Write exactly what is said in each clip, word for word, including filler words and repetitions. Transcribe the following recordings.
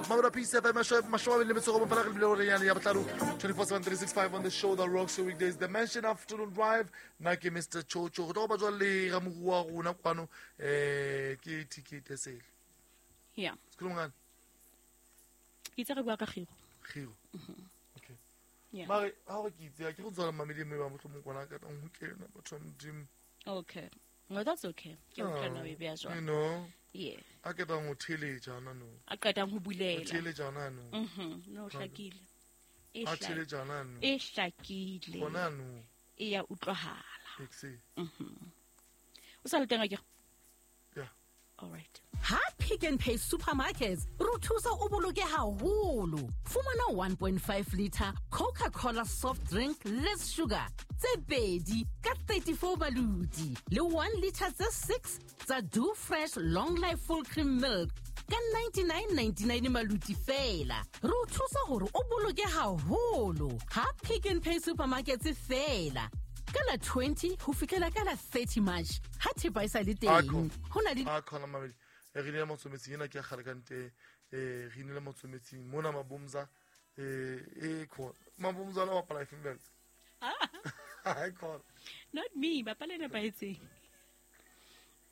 Mamelodi P C F M, mashome le metso go fela re bile hore ya botlalo twenty-four seven three six five on the show that rocks your weekdays, the Mansion Afternoon Drive. Nna ke Mister Chocho, go tlo ba jwa le ga moruo wa rona kwano, eh ke T K Tesele. Yeah. Sekhuluma ngani? Ke itse re bua ka Giro. Giro. Okay. Yeah. Mare ha re ke itse ke go tswala mamedi mme ba mohlomong kwana ka tang ho kena batho ba Modimo. Okay. No, that's okay. Ke o tla e bea jwang. You know. Yeah. A ke tang ho theletsa na no. A qetang ho bulela. Theletsa na no. Mhm. No hlakile. E hlakile. Theletsa na no. E hlakile. Bona no. E ya utlwahala. Exe. Mhm. O sa le teng akere? Yeah. All right. Ha Pick n Pay Supermarkets re thusa o boloke haholo. Fumana one point five liter Coca-Cola soft drink less sugar tse pedi ka thirty-four maludi le one liter tse six tsa Do Fresh Long Life Full Cream Milk ka ninety-nine ninety-nine maludi fela. Re thusa hore o boloke haholo. Ha Pick n Pay Supermarkets fela. Ka la twenty ho fihlela ka la thirty March ha thepa e sa le teng. Ho na le a khona mamedi. Re ne motsometsing ena ke kgale ka nte, eh re ne motsometsing mona mabomza, eh e khona mabomza la bapala e female. Ah, khona. Not me, bapala ne paetseng.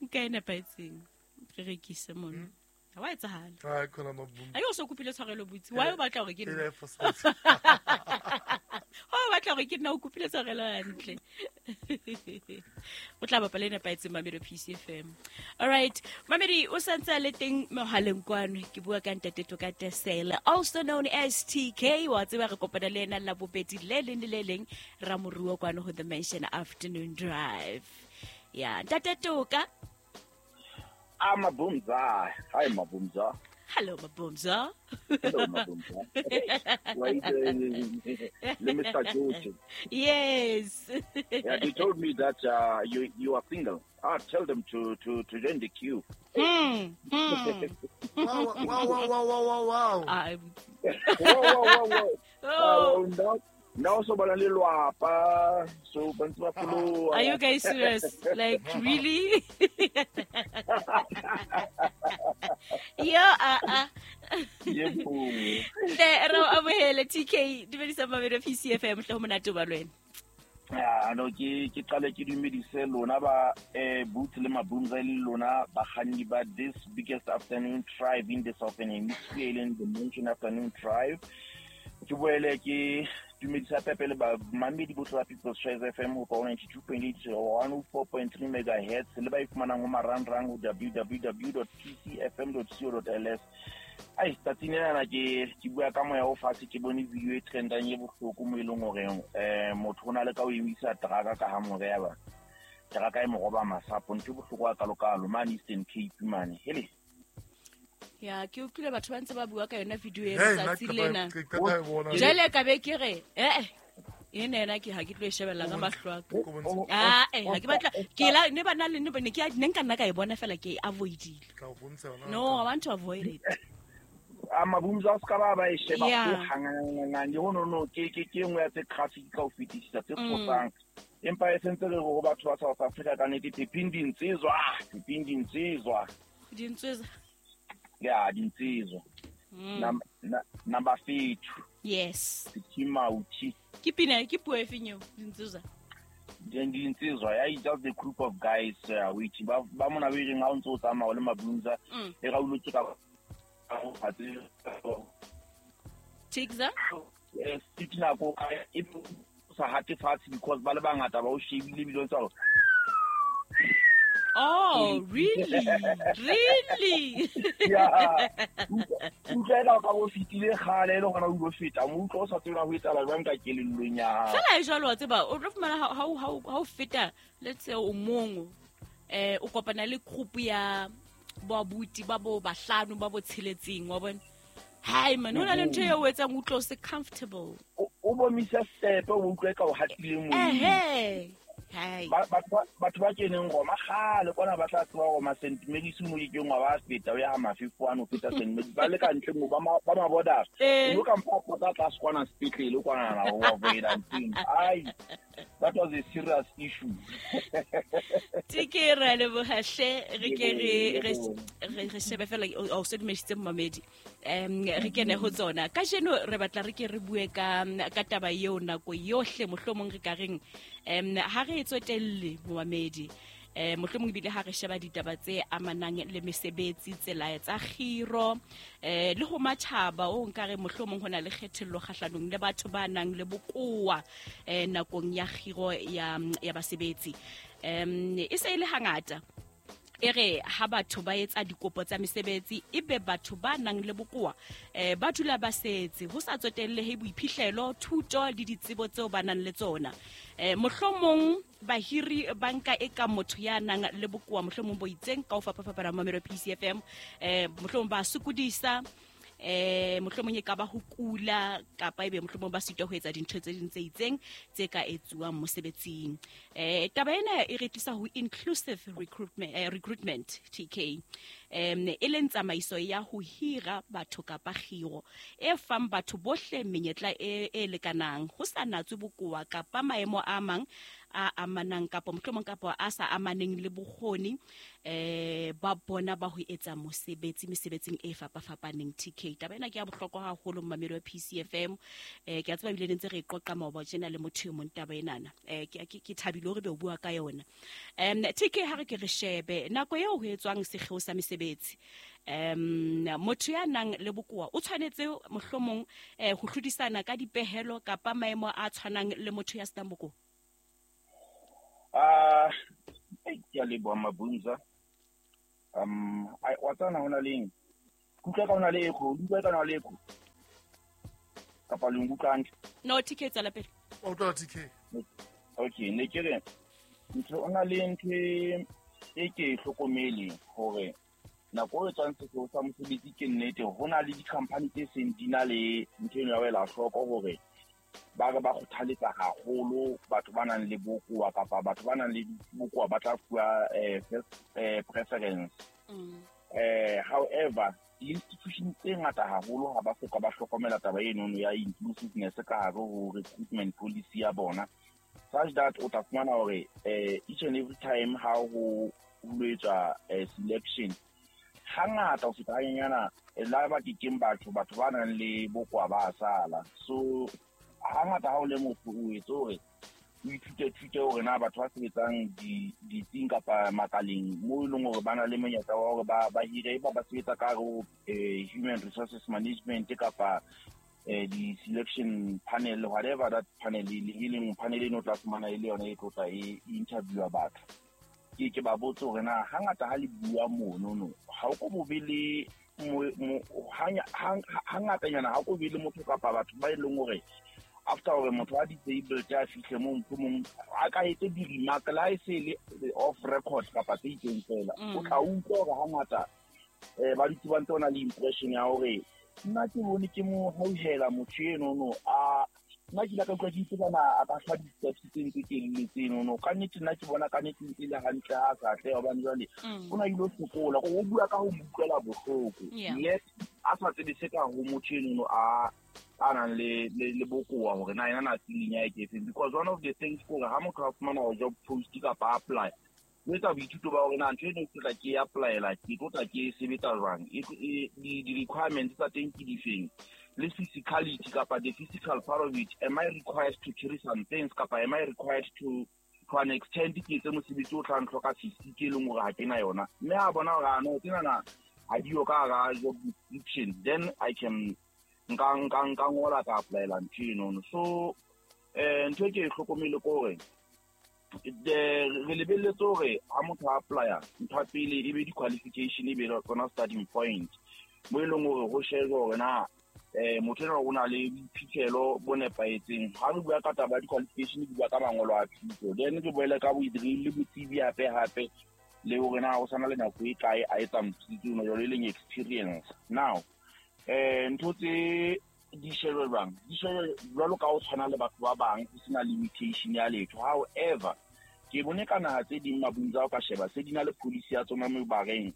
Nka ena paetseng. Re rekise mona. Ha wa etsahala. Ah, khona mabomza. Ayo so kopile tshwarelo botsi. Why o batla hore ke nna? O batla hore ke nna o kopile tshwarelo hantle. O tla bapala ena paetseng Mamelodi P C F M. All right. Mamedi o santse le teng mohaleng kwano ke bua ka Ntate Toka Tesele, also known as T K. Wa tseba re kopana le ena la bobedi le leng le le leng ra moruo kwano ho the Mansion Afternoon Drive. Yeah, Ntate Toka. Ah, Mabumza. Hi, Mabumza. Hello, Mabumza. Hello, Mabumza. Wait, uh, Mister George. Yes. Yeah, they told me that uh, you you are single. Ah, tell them to, to, to join the queue. Mm, mm. Wow, wow, wow, wow, wow, wow, wow. I'm... Wow, wow, wow, wow. Oh. Uh, now, now so so are you guys serious? Like really? Yeah, uh uh. Le ra amohela T K dumedisa Mamelodi P C F M hle ho monate ba lwena. Ya no ke ke qale ke dumedise lona ba eh Boots le Mabumza le lona bakganni ba this biggest afternoon drive in the Southern Hemisphere, in the Mansion Afternoon Drive. Ke boele ke dumedisa Pepe le ba mamedi bohle ba People's Choice F M ho ninety-two point eight one oh four point three megahertz le ba ifumanang ho marangrang ho w w w dot p c f m dot co dot l s. Ai tsatsing lena ke ke bua ka moya o fatshe, ke bone video e trendang e bohloko mo e leng hore eh motho o na le ka o emisa truck ka ha more ya ba truck e mo roba masapo, ntho e bohloko a kalokalo mane Eastern Cape mane hele. Ya ke utlwile batho ba ntse ba bua ka yona video e tsatsi lena. Jele ka be ke re eh eh ene ena ke ha ke tlo e shebella ka mahlo a ka. Ah eh ha ke batla ke la ne ba na le ne ne ke ne nka nna ka e bona fela ke e avoidile. No, I want to avoid it. A Mabumza o ska ba ba e sheba ho hanganang le hono no ke ke ke nngwe ya tse graphic ka ho fetisisa tse tshosang. Empa e sentse re go batho ba South Africa ka nnete pepeng dintsizwa, pepeng dintsizwa. Dintsizwa. Yeah, dintsizwa. Mm. Number five. Yes. Kimauchi. Ke pina ke puo e feng eo dintsizwa? Dintsizwa, yeah, it's just a group of guys uh, which ba ba mona ba ireng ha o ntse o tsamaya le Mabumza e ga o lotse ka Tigza? Yes, tina ko e sa hate fatshe because ba le bangata ba o shebile bile tsa. Oh, really? Really? Yeah. Utlwela ka go fitile gale le gona o go feta mo utlwa o sa tsela ho etsala jwang ka kelellong ya hao. Fela e jwalo wa tseba o tlo fumana ha ha ha o feta let's say o mong eh o kopana le group ya ba buti ba bo bahlano ba bo tsheletseng wa bona. Hai man, hona le ntho eo o etsang utlwa o se comfortable. O bomisa step o utlwe ka o hatile mo. Eh eh. Batho ba keneng Roma kgale kwana ba tla tseba Roma Saint Mary's mo ke ngwa ba feta o ya ha mafefo ano feta Saint Mary's ba le ka ntle mo ba ba ma-borders o ka mpa pota tlase kwana sepetlele kwana na o avoid ntseng ai That was a serious issue. T K ra leboha hle, re ke re re re shebe fela o se dumedisitse momamedi. Em re kene ho tsona. Kajeno re batla re ke re bue ka ka taba eo nako yohle mohlomong re ka reng em ha re e tsotelle momamedi. Eh mohlomong ebile ha re sheba ditaba tse amanang le mesebetsi tsela tsa kgiro eh le ho matjhaba o nka re mohlomong hona le kgethello kgahlanong le batho ba nang le bokowa eh nakong ya kgiro ya ya basebetsi. Em e se ile hangata e re ha batho ba etsa dikopo tsa mesebetsi ebe batho ba nang le bokowa eh ba dula ba setse ho sa tsotellehe boiphihlelo thuto le ditsebo tseo ba nang le tsona. Eh mohlomong bahiri banka e ka motho ya nang le bokowa mohlomong bo itseng ka ho fapafapana mamelo P C F M eh mohlomong ba sokodisa eh mohlomong e ka ba ho kula kapa ebe mohlomong ba sitwa ho etsa dintho tse ding tse itseng tse ka etsuwang mosebetsing. Eh taba ena e re tlisa ho inclusive recruitment eh, recruitment T K em e leng tsamaiso ya ho hira batho kapa kgiro e fang batho bohle menyetla e e lekanang ho sa natswe bokowa kapa maemo a mang a amanang kapa mohlomong kapa a sa amaneng le bokgoni eh ba bona ba ho etsa mosebetsi mesebetsing e fapafapaneng. T K taba ena ke ya bohlokwa haholo mmamelo wa P C F M. Eh ke a tseba ebile ntse re qoqa maoba tjena le motho e mong taba enana eh ke ke thabile hore be o bua ka yona. Em T K ha re ke re shebe nako eo ho etswang sekgeo sa mesebetsi em motho ya nang le bokowa o tshwanetse mohlomong eh ho hlodisana ka dipehelo kapa maemo a tshwanang le motho ya senang bokowa. Ah, ke a leboha Mabunza. Um I wa tsana hona leng. Kutlwa ka hona le echo, utlwa ka hona le echo. Kapa le nkutlwa hantle? No, T K tswela pele. O utlwa T K. Okay, ne ke re ntho ona le ntho e ke hlokomele hore nako e tswang sekolo sa mosebetsi ke nnete ho na le di-company tse seng di na le ntho eno ya ho ela hloko hore ba re ba kgothaletsa haholo batho ba nang le bokowa kapa batho ba nang le bokowa ba tla fuwa eh first eh preference. Mm. Eh however di-institution tse ngata haholo ha ba soka ba hlokomela taba eno ya inclusiveness ka hare ho recruitment policy ya bona, such that o tla fumana hore eh each and every time ha ho ho etswa selection hangata o feta hanyana la ba kekeng batho batho ba nang le bokowa ba sala. So hangata ha o le motho o etse hore o ithute thute hore na batho ba sebetsang di ditsing kapa makaleng mo e leng hore ba na le monyetla wa hore ba ba hire ba ba sebetsa ka hare ho human resources management kapa eh di-selection panel, whatever that panel e leng panel eno tla fumana e le yona e tlo tla e interviewa batho. Ke ke ba botse hore na hangata ha le bua mono no ha o ko bo be le hangatanyana ha ko be le motho kapa batho ba e leng hore after hore motho a disabled a fihle mo mong a ka etse di-remark la e se le off record kapa tse itseng fela o tla utlwa hore hangata um ba dutse ba ntse ba na le impression ya hore nna ke bone ke mo hauhela motho enono a nna ke ile ka utlwa ke itse bana a ka hlwa di-steps tse ntse telele tsenono ka nnete nna ke bona ka nnete ntse le hantle ha a sa atleha hobane jwale o na ile sokola o bua ka ho mo utlwela bohloko yet a sa tsebe se ka ho motho enono a a nang le le bokowa hore na yena na feeling ya e ke efeng. Because one of the things ke hore ha motho a fumana job post kapa apply o etsa boithuto ba hore na ntho eno ke tla ke e apply-ela ke tlo tla ke e sebetsa jwang, di-requirements tsa teng ke difeng, le physicality kapa the physical part of it, am I required to carry some things kapa am I required to to an extent ke etse mosebetsi o tlang hloka physique e leng hore ha ke na yona. Mme a bona hore ano tsenana ha diyo ka hara job description, then I can nka nka nka ngola ka apply-ela ntho enono. So eh ntho e ke e hlokomele ke hore re lebelletse hore ha motho a apply-a ntho ya pele e be di-qualification e be tsona starting point mo e leng hore ho shejwe hore na eh motho enwa o na le boiphihlelo bo nepahetseng. Ha re bua ka taba ya di-qualification ke bua ka mangolo a thuto, then ke boele ka le botsebi hape hape le hore na o sana le nako e kae a etsa mosebetsi ona jwalo e leng experience. Now eh ntho tse di shejwe jwang di shejwe jwalo ka ho tshwana le batho ba bang ho sena limitation ya letho. However ke bone ka naha tse ding Mabunza o ka sheba se di na le policy ya tsona mo bareng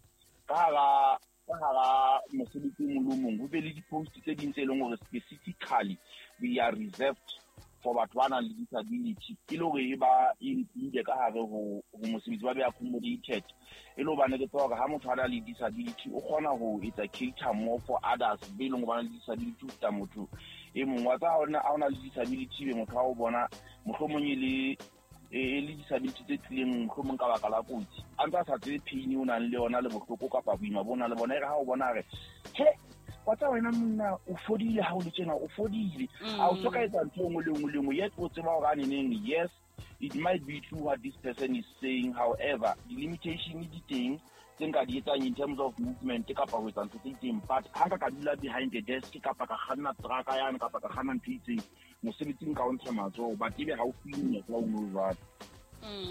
ka hara ka hara mosebetsi o mong le o mong ho be le di-post tse ding tse leng hore specifically they are reserved for batho ba nang le disability e le hore e ba include ka hare ho ho mosebetsi, ba be accommodated. E le hobane ke tseba hore ha motho a na le disability o kgona ho etsa cater more for others be leng hore ba na le disability ho feta motho e mong. Wa tseba ha ona ha ona le disability be motho ha o bona mohlomong e le e le disability tse tlileng mohlomong ka baka la kotsi, a ntse a sa tsebe pain o nang le yona le bohloko kapa boima bo nang le bona. E re ha o bona re he wa tseba wena monna o fodile ha o le tjena, o fodile, a o soka etsa ntho e nngwe le nngwe le nngwe, yet o tseba hore a neneng, yes it might be true what this person is saying, however the limitation di teng tse nka di etsang in terms of movement kapa ho etsa ntho tse itseng. But ha nka ka dula behind the desk kapa ka kganna trucka yane kapa ka kganna ntho e itseng mosebetsing ka o ntsha matsoho, but ebe ha o fuwe monyetla o no jwalo.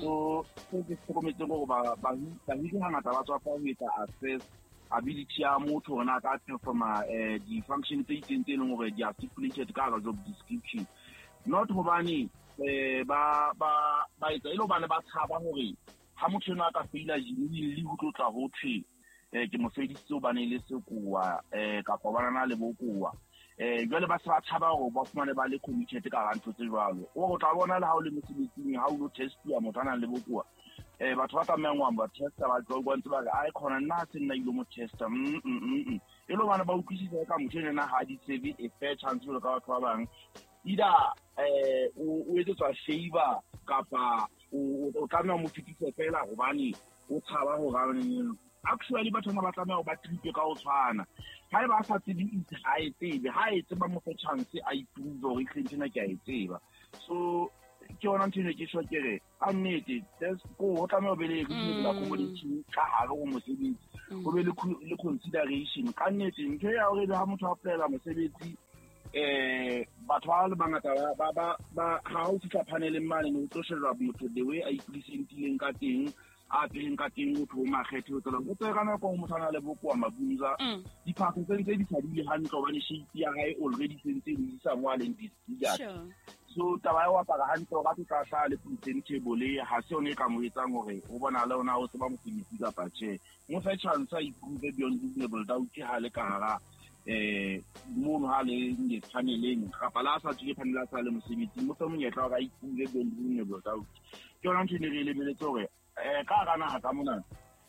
So se ke hlokometseng hore ba bahiri hangata ba tswa fa ho etsa assess ability ya motho hore na ka performa eh di-function tse itseng tse leng hore di are stipulated ka hara job description. Not hobane eh ba ba ba etsa e le hobane ba tshaba hore ha motho enwa a ka feila genuinely ho tlo tla ho thwe eh ke mo fedisitse hobane e le sekowa eh kapa ba na le bokowa. Eh jwale ba se ba tshaba hore ba fumane ba le committed ka hara ntho tse jwalo. O tla bona le ha o le mosebetsing ha o lo testiwa motho a nang le bokowa, eh batho ba tlamehang ho ba testa ba tlo ba ntse ba re ai khona nna se nna ile mo testa mm mm mm e le bana ba utlwisisa ka motho ena ha di tsebe a fair chance jwalo ka batho ba bang, either eh o etsetswa favor kapa o tlameha mo fetise fela hobane o tshaba hore actually batho ba tlameha ho ba treat ka ho tshwana. Ha eba a sa tsebe itse ha e tsebe, ha e tseba mo fe chance a iprove hore ehlile ntho ena ke a e tseba. So ke yona ntho eno ke tjho ke re ka nnete ko ho tlameha ho be le reasonable accommodation ka hare ho mosebetsi, ho be le consideration ka nnete. Ntho ya hore ha motho a applyela mosebetsi eh batho ba le bangata ba ba ba ha o fihla paneleng mane o tlo shebelwa motho the way a ipresentileng ka teng, a apereng ka teng, motho o makgethe o tsela o tsere ka nako motho a na le bokowa mabunza diphahlo tse ntse di sa dule hantle hobane shape ya hae already se ntse e isa mo a leng disfigured. So taba ya ho apara hantle hore a tlo tla hlaha le presentable ha se yona e ka mo etsang hore ho bonahale hore na o tseba mosebetsi kapa tjhe. Mo fe chance a iprove beyond reasonable doubt ha le ka hara eh mono ha le paneleng kapa la sa tswile panel a sa le mosebetsi, mo fe monyetla hore a iprove beyond reasonable doubt. Ke yona ntho e ne re e lebeletse hore eh ka hara naha ka mona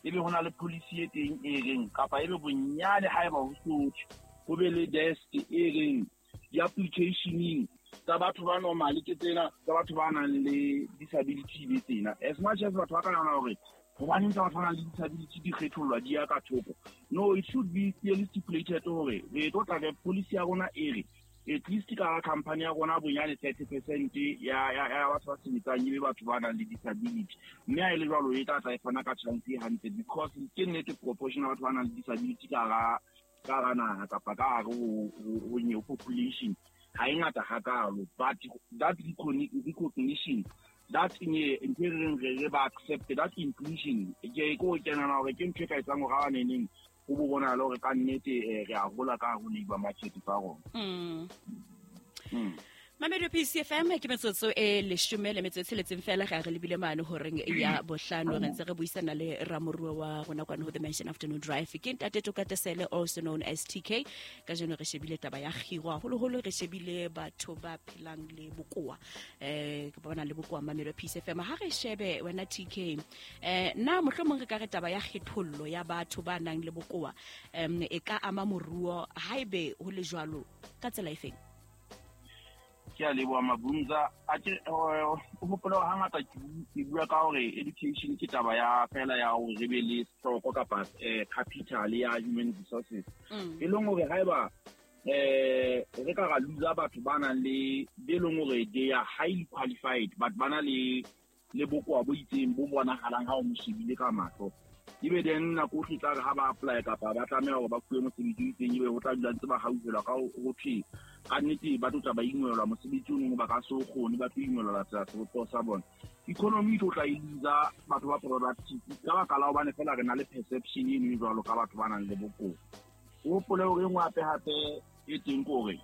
ebe ho na le policy e teng e reng kapa ebe bonyane haeba ho sothwe ho be le desk e reng di-applicationeng tsa batho ba normal ke tsena, tsa batho ba nang le disability be tsena. As much as batho ba ka nahana hore hobaneng tsa batho ba nang le disability di kgethollwa di ya ka thoko, no, it should be clearly stipulated hore re tlo tla re policy ya rona e re at least ka company ya rona bonyane thirty percent ya ya ya batho ba sebetsang ebe batho ba nang le disability. Mme ha e le jwalo e tla tla e fana ka chance e hantle because ke nnete proportion ya batho ba nang le disability ka hara ka hara naha kapa ka hare ho ho population ha e ngata hakalo, but that recognition, that ntho e reng re ba accept that inclusion ke ko kenana hore ke ntho e ka etsang hore ha ba neneng ho bo bonahale hore ka nnete re a hola ka hare ho labour market tsa rona. Mm. Mamelodi P C F M ke metsotso e leshome le metsotso e tsheletseng fela ga re lebile mane horeng ya bohlano re ntse re buisana le ramoruo wa rona kwana ho The Mansion Afternoon Drive ke Ntate Tokatesele, also known as T K. Kajeno re shebile taba ya kgiro haholoholo, re shebile batho ba phelang le bokowa eh ke bona le bokowa. Mamelodi P C F M ha re shebe wena T K, eh na mohlomong re ka re taba ya kgethollo ya batho ba nang le bokowa em e ka ama moruo haebe ho le jwalo ka tsela efeng? Ke a leboha Mabunza. A ke o hopola hore hangata ke bua ka hore education ke taba ya fela ya hore re be le stock kapa capital ya human resources. E leng hore haeba eh re ka ra lose batho ba nang le be leng hore they are highly qualified but ba na le le bokowa bo itseng bo bonahalang ha o mo shebile ka mahlo, ebe then nako o tla re ha ba apply kapa ba tlameha hore ba fuwe mosebetsi o itseng, ebe ho tla dula ntse ba hauhelwa ka ho thwe ka nnete ba tlo tla ba ingwelwa mosebetsi o nngwe ba ka se o kgone, ba tlo ingwelwa tsela sebopeho sa bona. Economy e tlo tla e loser batho ba productive ka baka la hobane fela re na le perception eno e jwalo ka batho ba nang le bokowa. O hopole hore e nngwe hape hape e teng ke hore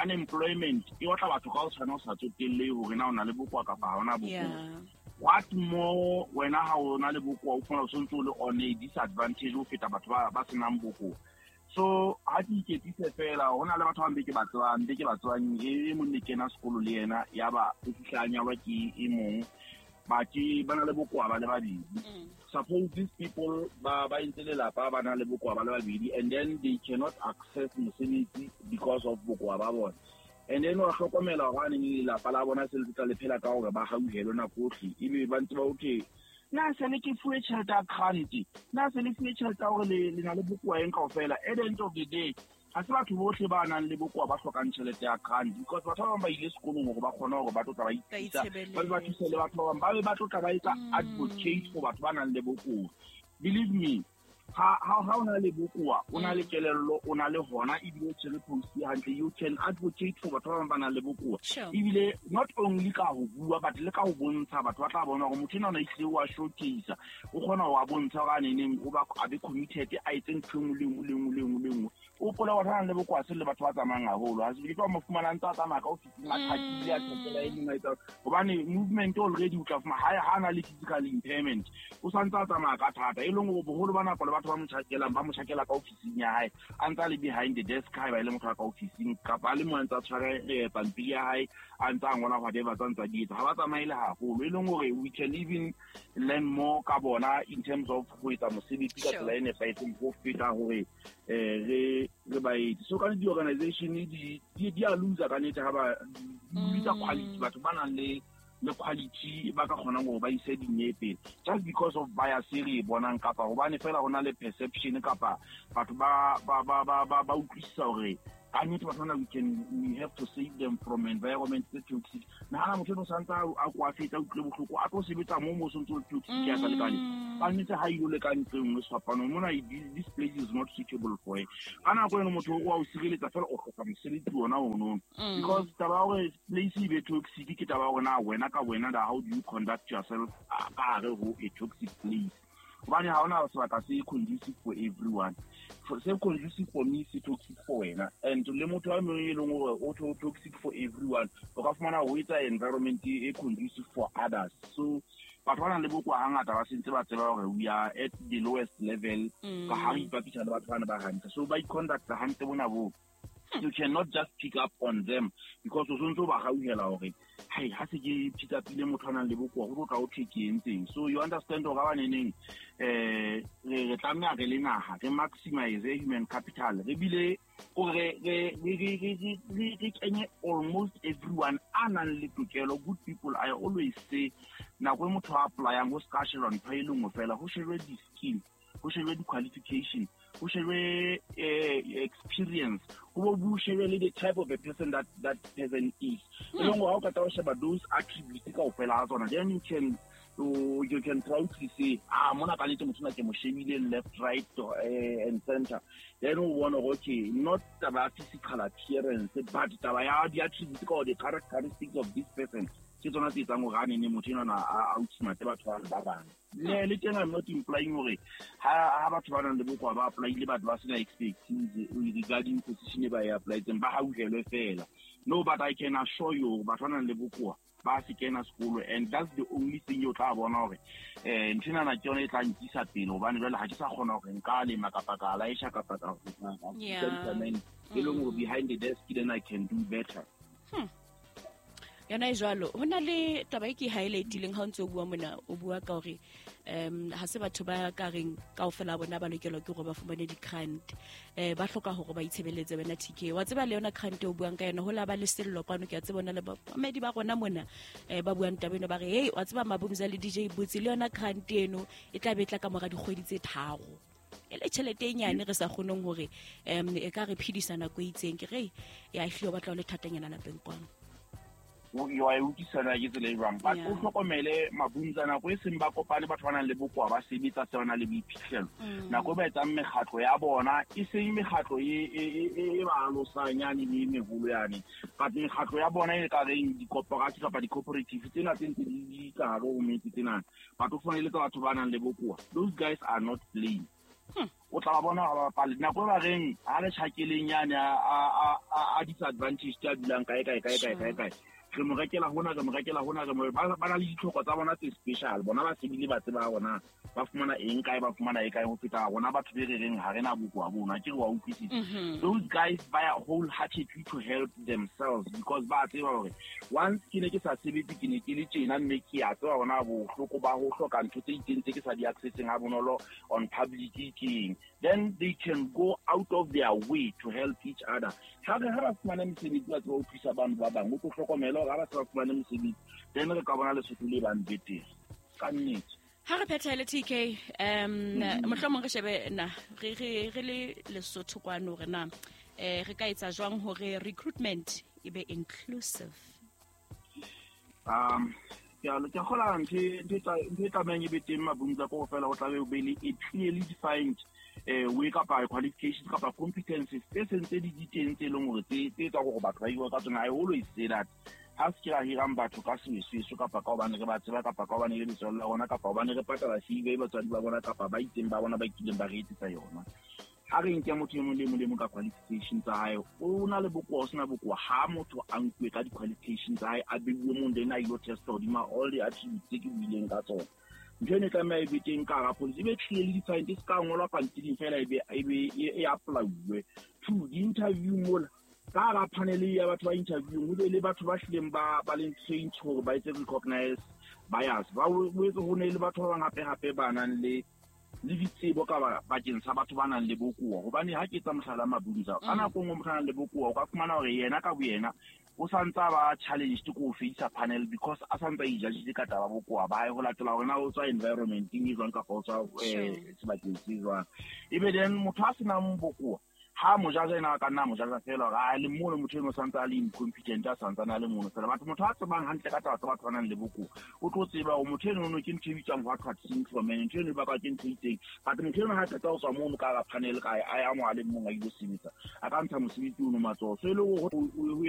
unemployment e otla batho ka ho tshwana o sa tsotelle hore na o na le bokowa kapa ha ona bokowa. What more wena ha o na le bokowa o fumana o sontse o le on a disadvantage ho feta batho ba ba senang bokowa. So ha ke iketsise fela ho na le batho ba mbe ke ba tsebang mbe ke ba tsebang e mong ne kena sekolo le yena ya ba o fihla a nyalwa ke e mong ba ke ba na le bokoa ba le babedi. Suppose these people ba ba entse lelapa ba na le bokoa ba le babedi and then they cannot access mosebetsi because of bokoa ba bona. And then wa hlokomela hore ne lelapa la bona se le tla le phela ka hore ba hauhelwe nako ohle ebe ba ntse ba okay na se le ke fuwe tjhelete ya grant na se le fuwe tjhelete ya hore le le na le bokoa eng kaofela. At the end of the day ha se batho bohle ba nang le bokoa ba hlokang tjhelete ya grant because batho ba bang ba ile sekolong hore ba kgone hore ba tlo tla ba ithusa ba ba thuse le batho ba bang ba be ba tlo tla ba etsa advocate for batho ba nang le bokoa. Believe me, ha ha ha o na le bokoa o na le kelello o na le hona ebile o tshwere post hantle, you can advocate for batho ba bang ba nang le bokoa. Ebile not only ka ho bua but le ka ho bontsha batho ba tla bona hore motho enwa o ehlile wa showcase o kgona ho bontsha hore a neneng o ba a be committed a etse ntho e nngwe le nngwe le nngwe le nngwe le nngwe. O pola batho ba nang le bokoa se le batho ba tsamayang haholo ha se ke tlo mo fumana ntse a tsamaya ka ofising a thakile a thakela e meng a etsa hobane movement already o tla fumana ha ha na le physical impairment o santse a tsamaya ka thata e leng hore boholo ba nako le batho ba mo tjhakelang ba mo tjhakela ka ofising ya hae a ntse a le behind the desk ha ba ile motho ka ofising kapa a le mo a ntse a tshware pampiri ya hae a ntse a ngola whatever tsa ntse a di etsa ha ba tsamaile haholo e leng hore we can even learn more ka bona in terms of ho etsa mosebetsi ka tsela e nepahetseng ho feta hore eh re re ba etse. So ka di-organization di di a loser ka nnete ha ba bitsa quality batho ba nang le le quality ba ka kgonang hore ba ise dinepe just because of bias e re e bonang kapa hobane fela ho na le perception kapa batho ba ba ba ba ba ba utlwisisa hore ka nnete batho bana we can we have to save them from environment tse toxic. Nahana motho o santse a kwafetsa utlwe bohloko a tlo sebetsa mo mo sontse o toxic ya sa lekane ka nnete ha ile le ka ntlo nngwe sefapano mona this place is not suitable for her. Ka nako eno motho o a o sireletsa fela o hloka mosebetsi ona ono because taba ya hore place e be toxic ke taba ya hore na wena ka wena how do you conduct yourself ka hare ho a toxic place hobane ha hona sebaka se conducive for everyone. For se conducive for me se toxic for wena and le motho a mong e leng hore o toxic for everyone o ka fumana ho etsa environment e conducive for others. So batho ba nang le bokoa hangata ba sentse ba tseba hore we are at the lowest level ka ha re ipapisa le batho bana ba hantle so ba i-conduct hantle bona bo. You cannot just pick up on them because o sontse o ba hauhela hore hai ha se ke pick up ile motho a nang le bokoa ho tlo tla o thwe ke entseng. So you understand hore ba neneng eh re tlameha re le naha re maximize human capital re bile re re re re kenye almost everyone a nang le tokelo. Good people, I always say nako e motho a applyang ho ska sheba ntho e le nngwe fela ho shebe di-skill ho shebe di-qualification ho shebe experience ho bo shebe le the type of a person that that person is. E leng hore ha o qeta ho sheba those attributes kaofela ha tsona then you can you can proudly say ah mona ka nnete motho ona ke mo shebile left right uh, and center then o bona hore okay not taba ya physical appearance but taba ya di-attributes ka the characteristics of this person ke tsona tse etsang hore a nene motho enwana a outsmart batho ba ba bang. Le le teng I'm not implying hore ha ha batho ba nang le bokoa ba applyile batho ba sena expertise regarding position e ba e applyetseng ba hauhelwe fela. No, but I can assure you batho ba nang le bokoa ba se kena sekolo and that's the only thing o tla bona hore eh ntho ena ke yona e tla nkisa pele hobane jwale ha ke sa kgona hore nka lema kapa ka laesha kapa ka e leng hore behind the desk then I can do better. Hmm. Yona e jwalo ho na le taba e ke highlightileng ha o ntse o bua mona o bua ka hore um ha se batho ba ka reng kaofela bona ba lokelwa ke hore ba fumane di-grant eh ba hloka hore ba itshebeletse wena T K wa tseba le yona grant o buang ka yona ho la ba le sello kwano ke a tsebona le bamedi ba rona mona eh ba buang taba eno ba re hey wa tseba Mabumza le D J Botsi le yona grant eno e tla be tla ka mora dikgwedi tse tharo e le tjhelete e nyane re sa kgoneng hore um e ka re phedisa nako e itseng ke re ya ehlile o batla ho le thatanyana lapeng kwano. Yo a utlwisana ke tsela e jwang but o hlokomele Mabumza nako e seng ba kopane batho ba nang le bokoa ba sebetsa se ba nang le boiphihlelo nako e ba etsang mekgatlo ya bona e seng mekgatlo e e e ba alosang yane le meholo yane but mekgatlo ya bona e ka reng di-corporate kapa di-cooperative tsena tse ntse di ka hare ho metse tsena batho fana le tsa batho ba nang le bokoa those guys are not playing. O tla ba bona ha ba bapale nako e ba reng ha le tjhakeleng yane a a a disadvantage a dulang kae kae kae kae kae kae Re mo rekela hona, re mo rekela hona, re mo ba ba na le ditlhoko tsa bona tse special. Bona ba sebile ba tseba hona ba fumana eng kae, ba fumana e kae ho feta rona batho be re reng ha rena bokoa bona. Ke re wa utlwisisa. Those guys buy wholeheartedly to help themselves because ba tseba hore once ke ne ke sa sebetse, ke ne ke le tjena, mme ke a tseba hona bohloko ba ho hloka ntho tse itseng tse ke sa di accesseng ha bonolo on public keng. Then they can go out of their way to help each other. Ha re ha ba fumane mesebetsi, ba tseba ho thusa bano ba bang. O tlo hlokomela hore ha ba se ba fumane mosebetsi, then re ka bona Lesotho le bang betere ka nnete. Ha re phethele T K, um mohlomong re shebe na re re re le Lesotho kwano re na eh re ka etsa jwang hore recruitment e be inclusive? um ke a ke a kgola ntho e ntho e tla- ntho e tlamehang e be teng mabunza ko fela ho tlabe o be le a clearly defined eh way kapa qualifications kapa competencies tse seng tse di di teng, tse leng hore tse tse etsang hore batho ba hirwe ka tsona. I always say that ha se ke ra hirang batho ka sesweso, kapa ka hobane re ba tseba, kapa ka hobane e le letswalo la rona, kapa hobane re patala C V batswadi ba bona, kapa ba itseng ba bona ba kileng ba re etsetsa yona. Ha re nke motho e mong le e mong le e mong ka qualification tsa hae. O na le bokoa, o sena bokoa, ha motho a nkuwe ka di-qualification tsa hae, a beuwe mong, then a ilo testa hodima all the attributes tse ke buileng ka tsona. Ntho eno e tlameha e be teng ka hara policy, e be clearly defined, e se ka ngolwa pampiring fela, e be e be e e apply-uwe two di-interview mola ka hara panel ya batho ba interviewing, ho be le batho ba hlileng ba ba leng trained hore ba etse recognize bias, ba boetse ho ne le batho ba bang hape hape ba nang le le ditsebo ka ba- bakeng sa batho ba nang le bokoa. Hobane ha ke etsa mohlala, Mabunza, ka nako e nngwe motho a nang le bokoa o ka fumana hore yena ka boyena o santse a ba challenged ko ho face panel because a santse a ijajitse ka taba bokoa ba hae, ho latela hore na o tswa environmenteng e jwang kapa o tswa eh, sebakeng se jwang. Ebe then motho a senang bokoa ha mojaja ena a ka nna a mojaja fela hore a le mono, motho eno santse a le incompetent, a santsane a le mono fela. Batho motho a tsebang hantle ka taba tsa batho ba nang le bokoa o tlo tseba hore motho eno ke ntho e bitswang what what syndrome, and ntho eno e bakwa ke ntho e itseng. But motho eno ha qeta ho tswa mono ka hara panel, ka a ya mo a le mong a ilo sebetsa, a ka ntsha mosebetsi ono matsoho. So e le hore ho ho